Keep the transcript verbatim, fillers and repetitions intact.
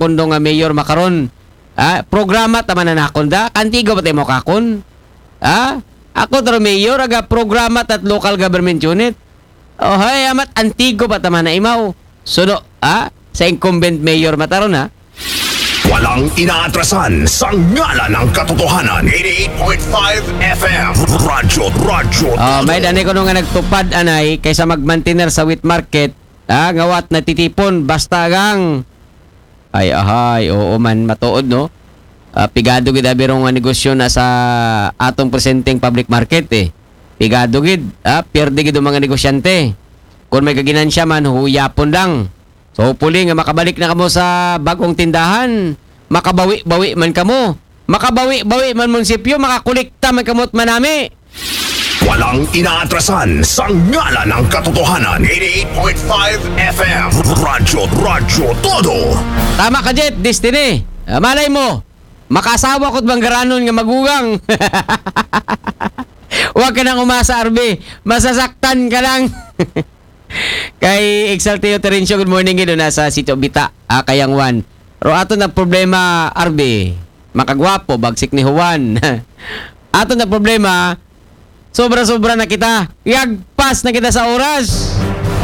nakon do nga mayor makaron. Ah, programa ta man na nakon da. Antigo pa tayo mo kakon. Ah, ako taro mayor, aga programa tat local government unit. Oh, hay, amat antigo pa ta man na imaw. Suno, ah, sa incumbent mayor mataron, ha? Walang inaatrasan sa ngalan ng katotohanan. Eighty-eight point five F M. Radyo, radyo. Oh, may dani ko nung nga nagtupad anay kaysa magmantener sa wet market, ah, ngawat natitipon basta gang. Ay, ahay, oo man, matuod, no? Ah, pigado gid abi rong nga negosyo na sa atong presenteng public market, eh. Pigado gid, ah, pierde gid ang mga negosyante. Kung may kaginansya man, huyapon lang. So, hopefully nga makabalik na kamo sa bagong tindahan, makabawi-bawi man kamo. Makabawi-bawi man munisipyo, makakolekta man kamo at manami. Walang inaatrasan sa ngalan ng katotohanan. Eighty-eight point five F M. Radyo, radyo, todo. Tama ka, Jet, Destiny. Ah, malay mo, makaasawa ko't manggaranon nga magugang. Huwag ka nang umasa, R B. Masasaktan ka lang. Kay Exalteo Terencio, good morning, gid na sa Sitio Bita, ah, Kayang Juan. Pero ato na problema, R B. Makagwapo, bagsik ni Juan. Ato na problema, sobra-sobra na kita. Yagpas na kita sa oras.